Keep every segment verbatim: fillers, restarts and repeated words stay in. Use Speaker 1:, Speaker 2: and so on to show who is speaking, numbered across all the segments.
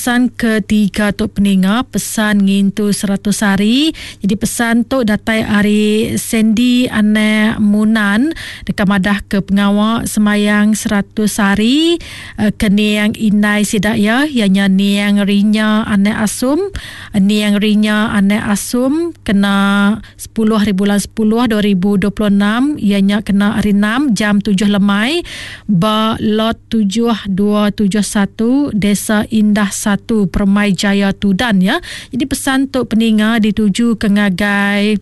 Speaker 1: Pesan ketiga tu peninga pesan ngintu seratus hari. Jadi pesan tu datai ari Sandy Anak Munan dekat madah ke pengawa semayang seratus hari ke niang indai sidak ya ianya niang Rinya Anak Asum. Niang Rinya Anak Asum kena sepuluh hari bulan sepuluh dua ribu dua puluh enam ianya kena hari enam jam tujuh lemai ba lot tujuh dua tujuh satu Desa Indah satu Permai Jaya Tudan ya. Jadi pesan tu peninga dituju ke ngagai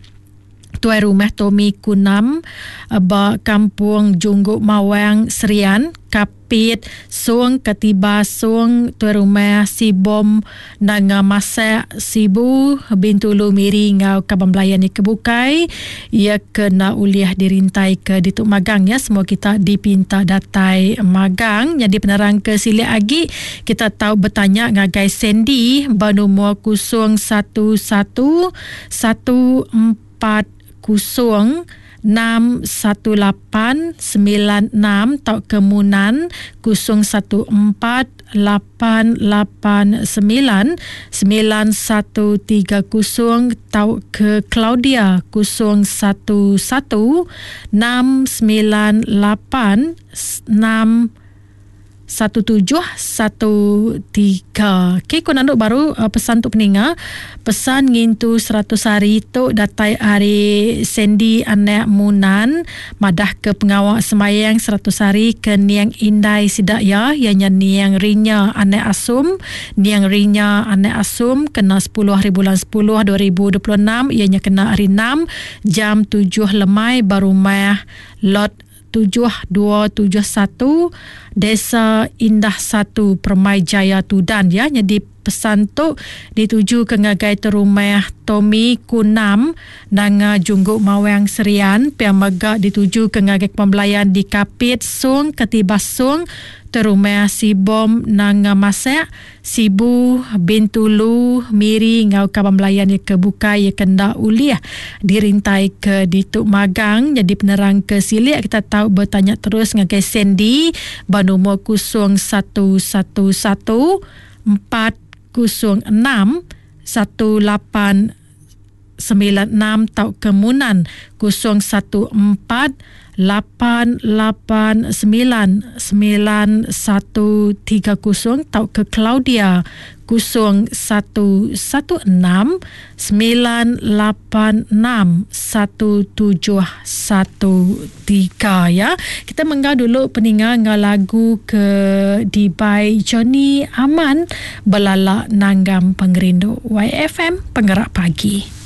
Speaker 1: Tuai Rumah Tommy Kunam ba Kampung Jungguk Mawang Serian, Kapit, Sung Ketiba Sung, Tuai Rumah Sibom Nanga Masak Sibu, Bintulu Miri ngau Kaban Belayan ni kebukai ia kena uliah dirintai ke dituk magang ya. Semua kita dipinta datai magang. Jadi penerang ke silik lagi kita tahu bertanya ngagai Sandy ba nombor kosong satu satu satu empat kosong enam satu lapan sembilan enam tau kemunan kosong satu empat lapan lapan sembilan sembilan satu tiga kosong tau ke Claudia kosong satu satu enam sembilan lapan enam satu tujuh satu tiga. Okey, kau nanduk baru uh, pesan tu peninga. Pesan ngintu seratus hari tu datai hari Sandy Anak Munan madah ke pengawak semayang seratus hari ke niang indai sidak ya ianya niang Rinya Anak Asum. Niang Rinya Anak Asum kena sepuluh hari bulan sepuluh dua ribu dua puluh enam ianya kena hari enam jam tujuh lemai barumah lot tujuh dua tujuh satu Desa Indah satu Permai Jaya Tudan ya. Jadi pesan tu dituju ke ngagai terumah Tommy Kunam Nanga Jungguk Mawang Serian, piang mega dituju ke ngagai pembelayan di Kapit Sung Ketibas Sung terumah Sibom Nanga Masak Sibu Bintulu Miri ngau kaban belayan ye ke bukai ye kenda uliah dirintai ke dituk magang. Jadi penerang ke silik kita tahu bertanya terus ngagai Sandy ba nombor kosong satu satu satu empat kosong enam satu lapan sembilan enam tau kemunan kosong satu empat lapan lapan sembilan sembilan satu tiga kosong tau ke Claudia kosong satu satu enam sembilan lapan enam satu tujuh satu tiga ya. Kita menggau dulu peninga ngau lagu ke di by Johnny Aman Belalak Nanggam Pengerindu. Y F M Penggerak Pagi.